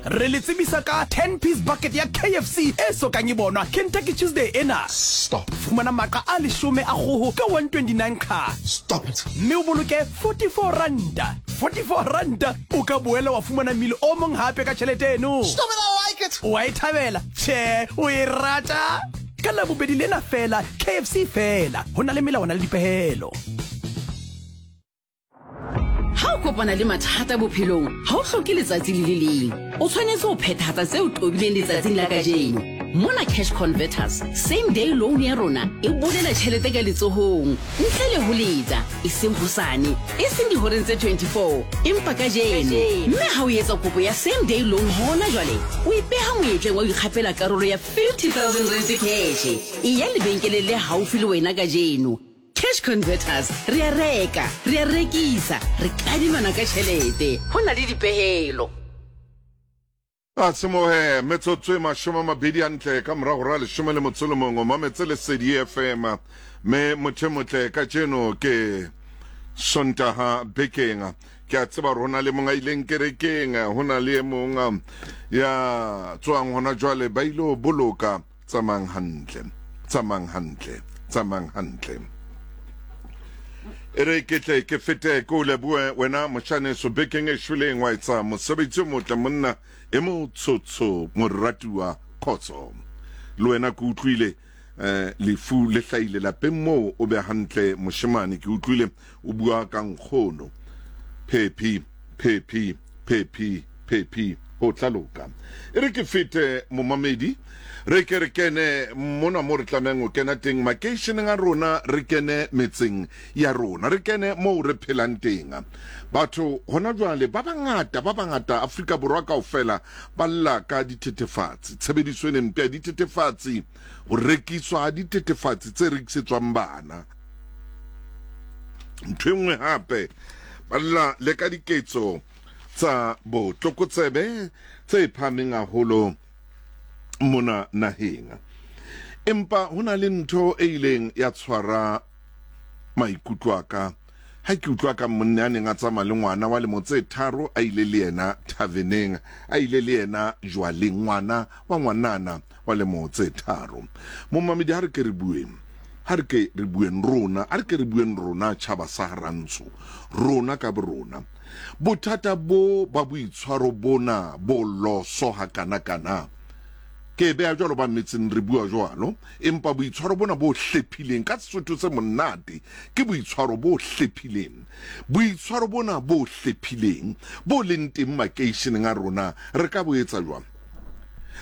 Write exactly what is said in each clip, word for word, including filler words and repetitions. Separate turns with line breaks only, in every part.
Re le tsebisa ka ten piece bucket ya K F C e sokang e bonwa Kentucky Tuesday ena.
Stop.
Fumana maqa a leshome a kgoho ka one twenty-nine ka.
Stop it.
Mme o boloke forty-four ranta. forty-four ranta o ka boela wa fumana mmele o mong hape ka tjhelete eno.
Stop it, I like it.
O a e thabela? Tjhe, o e rata? Ka Labobedi lena fela, K F C fela. Ho na le melawana le dipehelo.
Ha o kopana le mathata bophelong, ha o hloke letsatsi le le leng. O tshwanetse ho phethahatsa tseo tobileng letsatsing la kajeno. Mona Cash Converters, same day loan ya rona e bolela tjhelete ka letsohong, ntle le ho leta, e seng hosane, e seng dihoreng tse twenty-four, empa kajeno. Mme ha o etsa kopo ya same day loan hona jwale, o ipeha monyetleng wa ho ikgapela karolo ya fifty thousand rand cash. E ya lebenkeleng le haufi le wena kajeno. Cash Converters, re a reka, re a rekisa, re kadimana ka tjhelete. Ho na le dipehelo.
A tsimohe metsotso e mashome a mabedi hantle ka morao hora leshome le motso le mongwe, mametse Lesedi F M. Me motho e motle kajeno ke Sontaha bekeng. Ke a tseba hore ho na le mong a ileng kerekeng, ho na le e mong ya tswang hona jwale ba ile ho boloka. Tsamayang hantle, tsamayang hantle, tsamayang hantle. E re ke tle ke fete ke o lebohe wena moshaneso bekeng e shweleng wa etsa mosebetsi o motle monna e motsotso moratuwa khotso. Le wena ke utlwile eh lefu le hlahile lapeng moo o be hantle moshemane, ke utlwile o bua ka nkgono. Phephi, phephi, phephi, phephi, ho tla loka. E re ke fete momamedi, re ke re kene mona mo re tlamehang ho kena teng makeisheneng a rona, re kene metseng ya rona, re kene moo re phelang teng. Batho hona jwale ba bangata, ba bangata Afrika Borwa kaofela ba lla ka dithethefatsi, tshebediso e mpe ya dithethefatsi, ho rekiswa ha dithethefatsi tse rekisetswang bana. Ntho e nngwe hape ba lla le ka diketso tsa botlokotsebe tse phahameng haholo mona naheng. Empa ho na le ntho e ileng ya tshwara maikutlo a ka ha ke utlwa ka monna a neng a tsamaya le ngwana wa lemo tse tharo, a ile le yena thaveneng, a ile le yena jwaleng, ngwana wa ngwanana wa lemo tse tharo. Momamedi, ha re ke re bueng, ha re ke re bueng rona, ha re ke re bueng rona tjhaba sa Rantsho, rona ka borona. Bothata bo ba boitshwaro bona bo loso hakana-kana, ke beha jwalo ba metseng re bua jwalo, empa boitshwaro bona bo hlephileng ka Sesotho se monate ke boitshwaro bo hlephileng. Boitshwaro bona bo hlephileng bo leng teng makeisheneng a rona, re ka bo etsa jwang?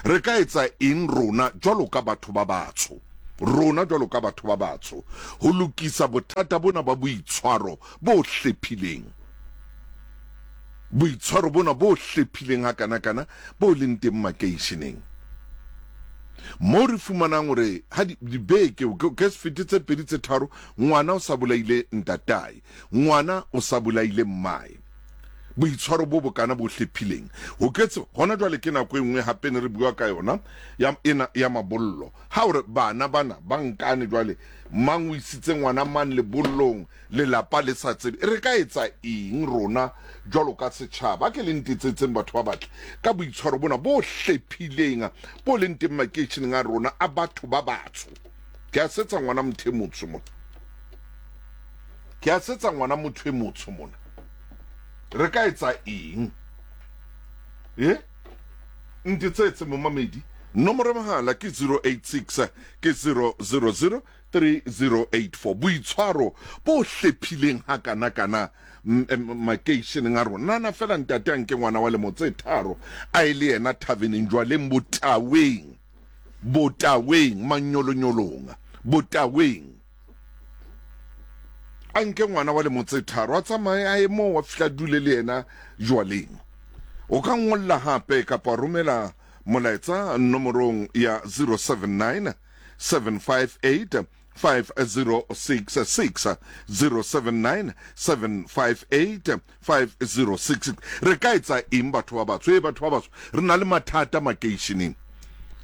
Re ka etsa eng rona jwalo ka batho ba batsho? Rona jwalo ka batho ba batsho ho lokisa bothata bona ba boitshwaro bo hlephileng. Boitshwaro bona bo hlephileng hakana-kana bo leng teng makeisheneng. Mo re fumanang hore ha di-, dibeke, ke, ke se fete tse pedi tse tharo, ngwana o sa bolaile ntatae, ngwana o sa bolaile mmae. Boitshwaro bo bokana bo hlephileng. Ho ketse hona jwale ke nako e nngwe hape ne re bua ka yona ya ena ya mabollo. Ha o re bana bana ba nkane jwale, mang o isitse ngwana mang lebollong, lelapa le sa tsebe. Re ka etsa eng rona jwalo ka setjhaba? Ke le ntetsetseng batho ba batle ka boitshwaro bona bo hlephileng bo leng teng makeisheneng a rona a batho ba batsho. Ke a setsa ngwana motho e motsho mona. Ke a setsa ngwana motho e motsho mona. Re ka etsa eng? Eh? Ntetsetse momamedi. Nomoro ya mohala ke zero eight six ke zero zero zero three zero eight four. Boitshwaro bo hlephileng hakana-kana m-, m-, makeisheneng a rona. Nana fela ntate a nke ngwana wa lemo tse tharo a e le yena thaveneng jwaleng botaweng, botaweng manyolonyolong, botaweng. A nke ngwana wa lemo tse tharo a tsamaye a ye moo a fihla dule le yena jwaleng. O ka ngolla hape kapa romela molaetsa nomorong ya zero seven nine seven five eight five zero six six, zero seven nine seven five eight five zero six six. Re ka etsa eng batho ba batsho? Eh, batho ba batsho, re na le mathata makeisheneng.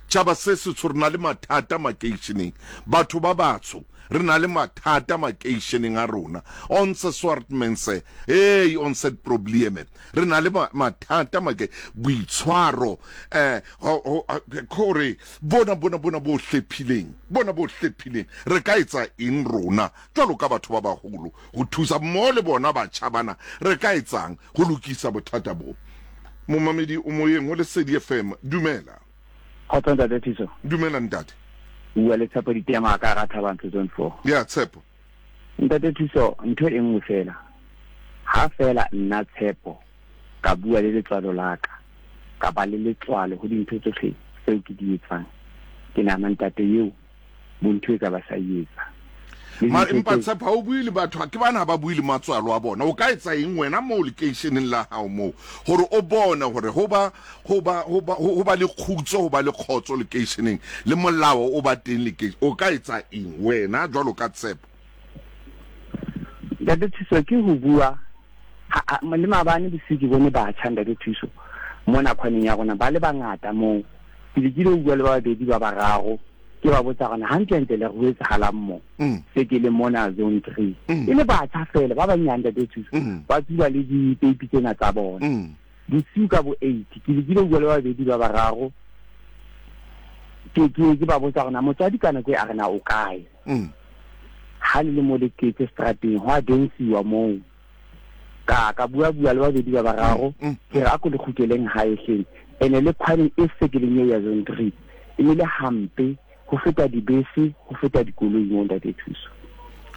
Tjhaba se setsho re na le mathata makeisheneng. Batho ba batsho re na le mathata makeisheneng a rona. Onse swart mense, hey ons het probleme. Re na le mathata make boitshwaro eh kore bona bona bona bo hlephileng, bona bo hlephileng. Re ka etsa eng rona jwalo ka batho ba baholo ho thusa mmoho le bona batjha bana? Re ka etsang ho lokisa bothata bo? Momamedi o moyeng ho Lesedi F M, dumela.
Kgotso ntate Thuso.
Dumela ntate.
Bua le Tshepo Ditema ka hara Thabang Zone four.
Ya Tshepo.
Ntate Thuso, ntho e nngwe fela. Ha fela nna Tshepo ka bua le letswalo la ka, ka ba le letswalo ho dintho tsohle tseo ke di etsang. Ke nahana ntate eo bontho e ka ba sa etsa.
Mara empa Tshepo ha o bue le batho, ke bana ba bue le matswalo a bona. O ka etsa eng wena moo lekeisheneng la hao moo hore o bone hore ho ba ho ba ho ba ho ba le kgutso, ho ba le kgotso lekeisheneng le molao o ba teng lekeisheneng? O ka etsa eng wena jwalo ka Tshepo?
Ntate Thuso, ke ho bua le maabane bosiu ke bone batjha ntate Thuso mona khwaneng ya rona ba le bangata moo. Ke lekile ho bua le ba babedi ba bararo, ke ba botsa hore hantlentle le re etsahalang mo se ke le mona zone three. E le batjha fela ba banyane ntate Thuso, ba tsuba le dipeipi tsena tsa bona. Bosiu ka bo eight ke lekile ho bua le ba babedi ba bararo, ke ke ke ba botsa hore motswadi ka nako e a re na o kae. Ha le le mo le tletse strateng ho a densiwa moo. Ka ka bua bua le babedi ba bararo, ke re a ko le kgutleleng hae hleng. Ene le khwaneng e sekeleng eo ya zone three e ne le hampe ho feta dibese, ho feta dikoloi mo ntate Thuso.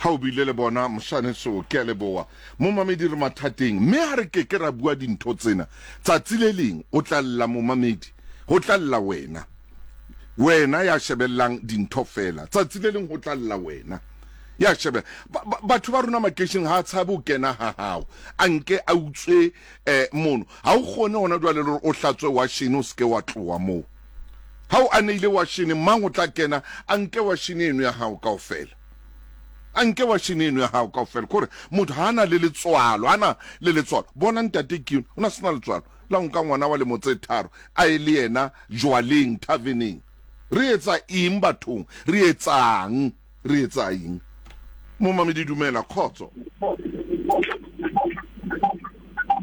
Ha o bile le bona moshane so ke a leboha. Momamedi re mathateng, mme ha re ke ke ra bua dintho tsena tsatsi le leng o tla lla momamedi, ho tla lla wena. Wena ya shebellang dintho fela, tsatsi le leng ho tla lla wena. Ya shebe batho ba rona makeisheneng ha tshabe ho kena ha hao, a nke a utswe eh mono. Ha o kgone hona jwale le hore o hlatswe washene o seke wa tloha moo. Ha o aneile washene, mang o tla kena a nke washene eno ya hao kaofela? A nke washene eno ya hao kaofela. Kore motho ha ana le letswalo, ana le letswalo. Bona ntate ke o na sena letswalo la nka ngwana wa lemo tse tharo a e le yena jwaleng taverneng. Re etsa eng bathong? Re etsang? Re etsa eng? Momamedi dumela, kgotso.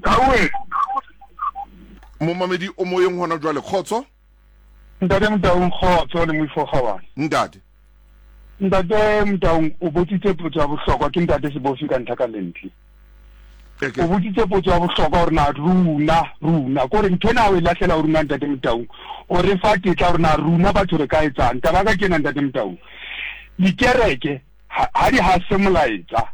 Kawe.
Momamedi o moyeng hona jwale, kgotso.
Ntate Motaung, kgotso le moifo kgabane.
Ntate.
Ntate Motaung, o botsitse potso ya bohlokwa ke ntate Sebofi ka ntlha ka lentle. O botsitse potso ya bohlokwa hore na runa runa kore ntho ena o e lahlela ho rona ntate Motaung. O re fa tetla hore na runa batho re ka etsang. Taba ka kena ntate Motaung. Dikereke ha di hase molaetsa.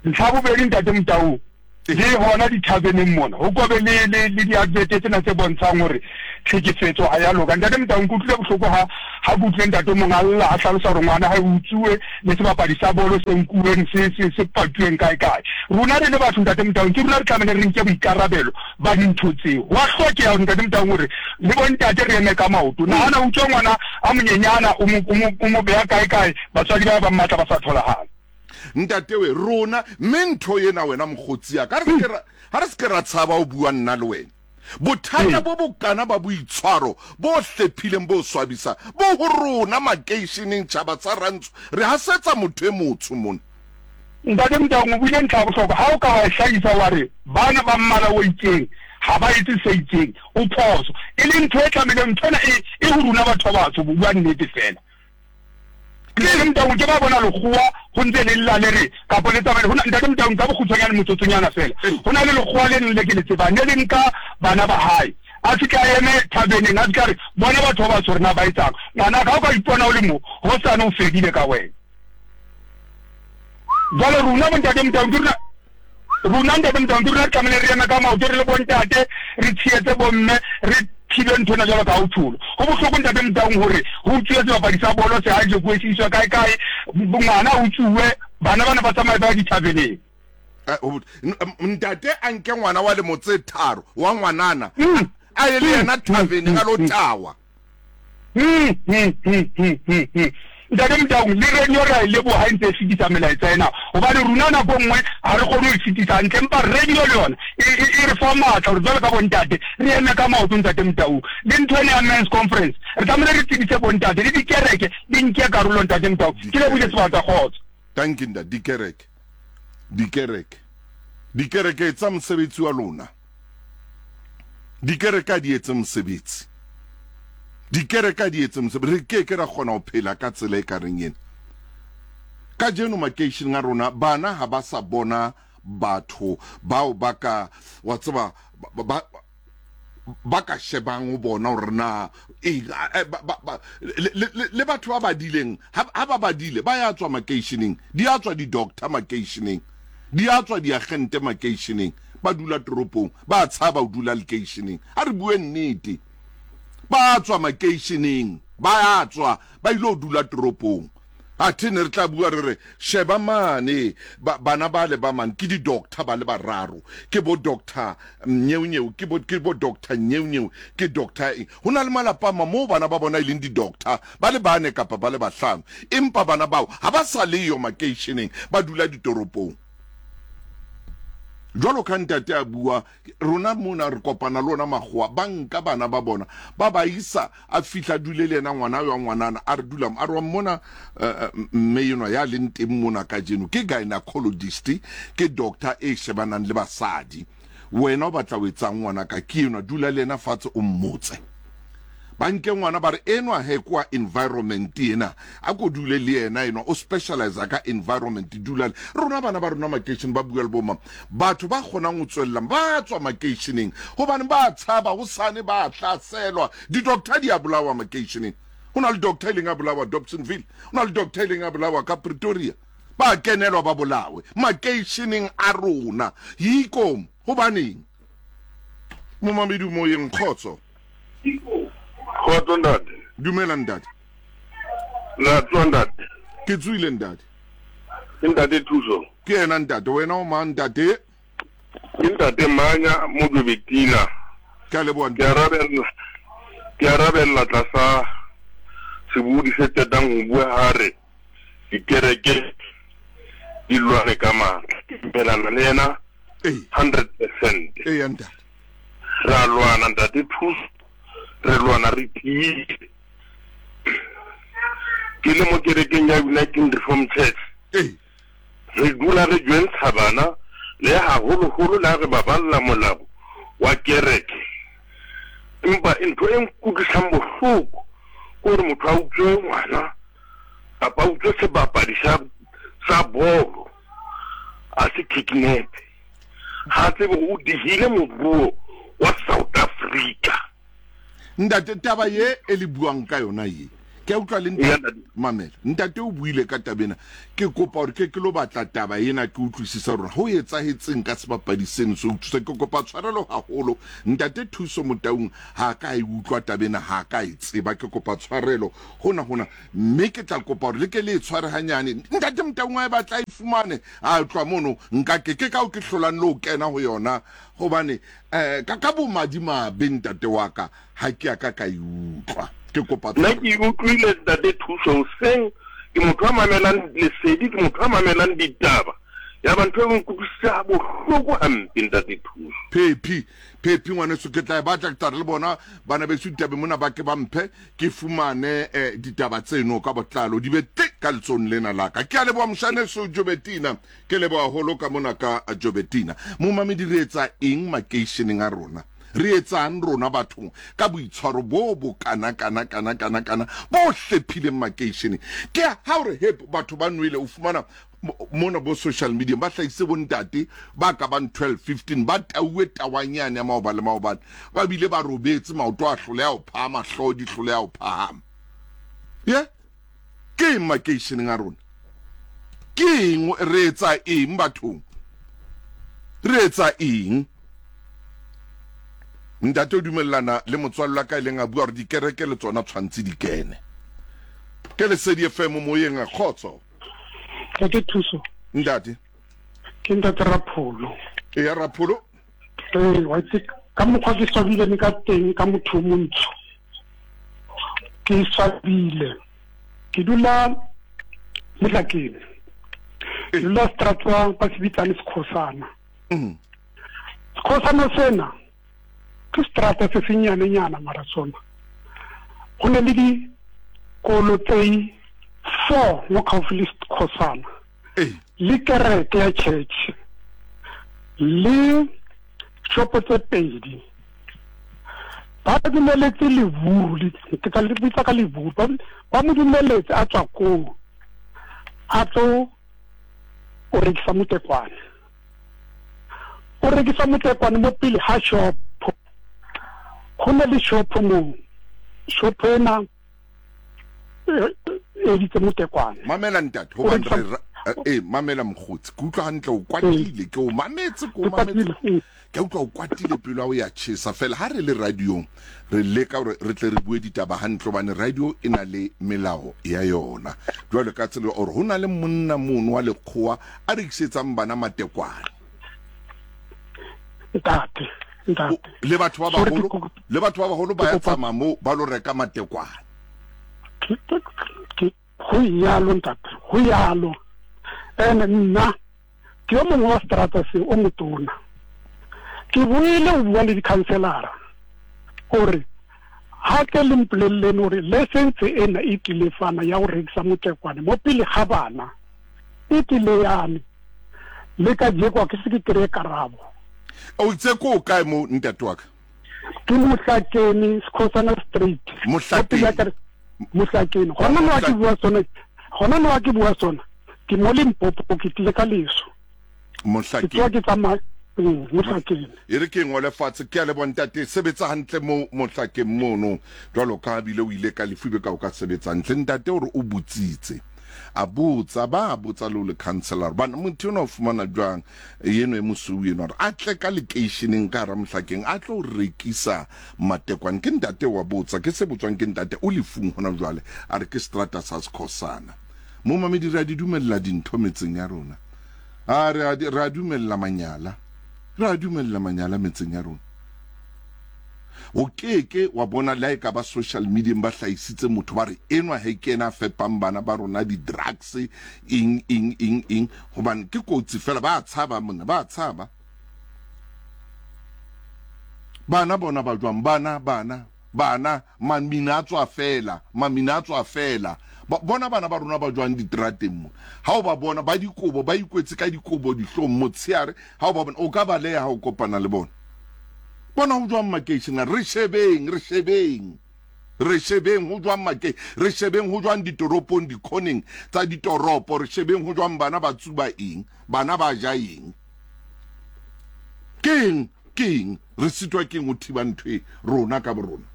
Ntlha bobedi ntate Motaung, le hona dithabeneng mona ho kobe le le le di-advert tsena tse bontshang hore tlhekefetso ha ya loka. Ntate Motaung, ke utlwile bohloko ha ha ke utlwile ntate mong a lla a hlalosa hore ngwana ha e utsuwe le sebapadi sa bolo se nkuweng se se se patuweng kae kae. Rona re le batho ntate Motaung, ke rona re tlamehile re nke boikarabelo ba dintho tseo. Wa hlokeha hore ntate Motaung hore le bontate re eme ka maoto. Nahana utswe ngwana a monyenyana o mo o mo beha kae kae, batswadi ba ba mmatla ba sa tholahale.
Ntate we rona mme ntho ena wena mokgotsi ya ka re se ra ha re se ra tshaba o bua nna le wena. Bothata bo bokana ba boitshwaro bo hlephileng bo swabisa bo ho rona makeisheneng tjhaba tsa rantsho re hasetsa motho e motsho mona.
Ntate Motaung, o buile ntlha ya bohlokwa. Ha o ka wa e hlahisa wa re bana ba mmala o itseng ha ba etse se itseng, o phoso. E le ntho e tlamehileng, ntho ena e e ho rona batho ba batsho, bo bua nnete fela. Ntate Motaung, ke ba bona lekgowa ho ntse le lla le re kapa le tsamaile. Hona ntate Motaung, ka bokgutshwanyane motsotsonyana fela, ho na le lekgowa le leng le ke le tsebang, le le nka bana ba hae a fihla a eme thabeneng a fihla re bona batho ba batsho rena ba etsang. Ngwana ka o ka ipona o le mo hosane o fedile ka wena. Jwale rona bontate Motaung, ke rona rona ntate Motaung, ke rona re tlamehile re eme ka maoto re le bontate, re tshehetse bomme, re thibe ntho ena jwalo ka ha o tsholo. Ho bohloko ntate Motaung hore ho utsuwe sebapadi sa bolo se ha jekuwe se iswe kae kae, ngwana o utsuwe, bana bana ba tsamaye ba ya dithabeneng.
Ntate a nke ngwana wa lemo tse tharo wa ngwanana a ye le yena thaveneng a lo tawa.
Ntate Motaung, le radio re a e leboha e ntse e fetisa melaetsa ena, hobane rona nako e nngwe ha re kgone ho e fetisa hantle, empa radio le yona e, e, e re fa matla hore jwalo ka bontate re eme ka maoto. Ntate Motaung, le ntho ena ya men's conference re tlamehile re tsebise bontate le dikereke di nke karolo. Ntate Motaung, ke lebohile sebaka, kgotso.
Thank you ntate. Dikereke, dikereke, dikereke tsa mosebetsi wa lona. Dikereke a di etse mosebetsi, dikereke a di etse mosebetsi. Re ke ke ra kgona ho phela ka tsela e ka reng ena kajeno makeisheneng a rona. Bana ha ba sa bona batho bao ba ka wa tseba ba, ba, ba ka shebang ho bona hore na eng, eh, ba- ba- ba- le- le le batho ba badileng, ha ha ba badile ba ya tswa makeisheneng, di a tswa di-doctor makeisheneng, di a tswa diagente makeisheneng, ba dula toropong, ba tshaba ho dula lekeisheneng. A re bue nnete, ba tswa makeisheneng, ba a tswa ba ile ho dula toropong. Athe ne re tla bua re re sheba mane ba, bana ba le ba mane ke di-doctor ba le bararo, ke bo doctor Nyeonyeo, ke bo, ke bo doctor Nyeonyeo, ke doctor eng. Ho na le malapa a mang moo bana ba bona e leng di-doctor ba le bane kapa ba le bahlano, empa bana bao ha ba sa leyo makeisheneng, ba dula ditoropong. Jwalo ka ntate a bua, rona mona re kopana le ona makgowa, ba nka bana ba bona ba ba isa, a fihla dule le yena ngwana wa ngwanana, a re dula a re wa mmona eh, mme enwa ya leng teng mona kajeno ke gynecologist, ke doctor e shebanang le basadi. Wena o batla ho etsang ngwana ka? Ke enwa, dula le yena fatshe o mmotse. Ba nke ngwana ba re enwa he kwa environment ena, a ko dule le yena, enwa o specialize ka environment, dula le rona. Bana ba rona makeisheneng ba bua le boma, batho ba kgonang ho tswella ba tswa makeisheneng hobane ba tshaba hosane ba hlaselwa. Di-doctor di a bolawa makeisheneng. Ho na le doctor e leng a bolawa Dobsonville, ho na le doctor e leng a bolawa ka Pretoria, ba kenelwa ba bolawe makeisheneng a rona. Yiko hobaneng momamedi moyeng? Kgotso.
Kgotso ntate.
Dumela ntate.
La tsoa ntate?
Ke tsoile ntate.
Ke ntate Thuso.
Ke yena ntate. Wena o mang ntate?
Ke ntate Manya Mojobetina.
Ke a leboha.
Ke arabella ke arabella tlasa sebodi se qetang ho bua ha re dikereke di lwane ka matla. Ke dumelana le yena
ee
hundred percent.
Ee ntate.
Re a lwana ntate Thuso, re lwana re tiile. Ke le mo kerekeng ya United Reform Church.
Ee
re dula re jwentsha bana le haholoholo le ha re ba balla molao wa kereke, empa ntho e nkutlwisang bohloko ke hore motho a utswe ngwana kapa a utswe sebapadi sa sa bolo, a se kidnap, ha tsebe hore o dihile moruo wa South Africa.
Ntate, taba ye e le buang ka yona ye ke a utlwa le
Eya,
ntate.
Ntate.
Mamela, ntate o buile ka taba ena, ke kopa hore ke ke lo batla taba ena ke utlwisisa hore ho etsahetseng ka sebapadi seno se utlwisa. Ke kopa tshwarelo haholo, ntate Thuso Motaung, ha ka e utlwa taba ena, ha ka e tseba. Ke kopa tshwarelo hona hona, mme ke tla kopa hore le ke le e tshware hanyane. Ntate Motaung a e batla e fumane a tloha mono, nka ke ke kao ke hlolang le ho kena ho yona, hobane eh ka ka bomadimabe ntate wa ka ha ke a ka ka e utlwa. Ke kopa
Nna ke utlwile ntate Thuso hoseng. Ke motho a mamelang lesedi, ke motho a mamelang ditaba, ya ba ntho e nkutlwisisa bohloko hampe ntate Thuso.
Phephi, phephi ngwaneso, ke tla e batla, ke tla re le bona bana beso ditabe mona ba ke ba mphe ke fumane eh, ditaba tseno ka botlalo, di be te ka letsong lena la ka. Ke a leboha moshaneso Jobetina, ke leboha haholo ka mona ka Jobetina. Momamedi, re etsa eng makeisheneng a rona? Re etsang rona bathong ka boitshwaro bo bo kana kana kana kana kana bo hlephileng makeisheneng? Ke ha o re hep batho ba nwele, o fumana mona bo social media ba hlahise bontate ba ka bang twelve fifteen ba tauwe tawanyane ya maoba le maobane, ba bile ba robetse, maoto a hloleha ho phahama, hlooho di hloleha ho phahama. Ye ke eng makeisheneng a rona? Ke eng? Re etsa eng bathong? Re etsa eng? Ntate o dumellana le motswalle wa ka e leng a bua hore dikereke le tsona tshwantse di kene. Ke Lesedi F M moyeng, a kgotso.
Ntate Thuso.
Ntate.
Ke ntate Rapholo.
E ya Rapholo.
Ee, wa itse ka mokgwa ke swabile ka teng ka motho o montsho, ke swabile. Ke dula Mohlakeng. Ke dula Stratwa ba se bitsang Sekhosana.
Mm.
Sekhosana sena ke strata se senyanenyana mara sona. Go ne le dikolo tse four mo gaufi le Sekhosana.
Ee.
Le kereke ya church. Le shopo tse pedi. Ba dumeletse leburu, ke tla le bitsa ka leburu, ba ba mo dumeletse a tswa koo, a tlo o rekisa motekwane. O rekisa motekwane mo pele ha shop. Go na le shop mo, shop ena e editse motekwane.
Mamela ntate,
O
hobane
rekisa
re ra- eh mamela mokgotsi, ke utlwa hantle o kwatile, ke o mametse, ke o
Ke
mametse.
kwatile, mm.
Ke utlwa o kwatile pelo ya o ya tjhesa fela. Ha re le radiong re leka hore re tle re bue ditaba hantle, hobane radio e na le melao ya yona. Jwalo ka tsela hore ho na le monna mono wa lekgowa a rekisetsang bana matekwane.
Ntate, ntate.
Le batho ba
Sorry,
baholo,
ke kopa-
le batho ba baholo ba
ke
ya
kopa-
tsamaya moo ba lo reka matekwane.
Ke- ke- ke- go yalo ntate, go yalo. Ene nna ke yo mongwe wa strata se o motona. Ke buile o bua le di-councillor-a gore ha ke le mpolelleng hore license ena e tlile fana ya go rekisa motekwane mo pele ga bana e tlile yane. Le ka jeko ke se ke kry-e karabo.
O itse ko o kae mo ntate wa ka?
Ke Mohlakeng, Sekhosana Street.
Mohlakeng.
Mo pele ya kere- Mohlakeng. Gona mo ke bua sona, gona mo ke bua sona. Ke mo Limpopo, ke tlile ka leso. Ke
Mohlakeng.
tsoa ke tsamaya, mm, Mohlakeng.
E re ke ngole fatshe, ke a leboha ntate, sebetsa hantle mo Mohlakeng mono. Jwalo ka ha bile o ile ka lefu be ka o ka sebetsa hantle. Ntate hore o botsitse. A botsa, ba botsa le o le councillor. Bana motho enwa o fumana jwang eno e mosweu enwa hore a tle ka lekeisheneng ka hara Mohlakeng a tlo rekisa matekwane. Ke ntate wa botsa, ke se botswang ke ntate o lefung hona jwale. A re ke strata sa Sekhosana. Momamedi, re a di dumella dintho metseng ya rona. A re a di- re a dumella manyala. Re a dumella manyala metseng ya rona. O keke wa bona le ha e ka ba social media ba hlahisitse motho ba re enwa he ke ena a fepang bana ba rona di-drugs eng eng eng eng, hobane ke kotsi fela, ba tshaba monna, ba tshaba. Bana bona ba jwang? Bana, bana, bana, mamina a tswa fela, mamina a tswa fela. Ba bona bana ba rona ba jwang diterateng mo. Ha o ba bona ba dikobo, ba ikwetse ka dikobo dihlong motshehare, ha o ba bona o ka baleha ha o kopana le bona. Bona ho jwang makeisheneng, re shebeng, re shebeng. Re shebeng ho jwang make, re shebeng ho jwang ditoropong, dikhoneng tsa ditoropo, re shebeng ho jwang bana ba tsuba eng, bana ba ja eng. Keng, keng, re sitwa keng ho thiba ntho e rona ka borona.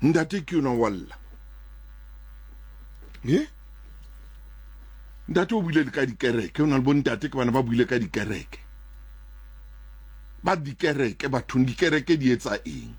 Ntate ke yona wa lla. Eh? Ntate o buile le ka dikereke, o na le bo ntate ke bana ba buile ka dikereke. Ba dikereke bathong, dikereke di etsa eng?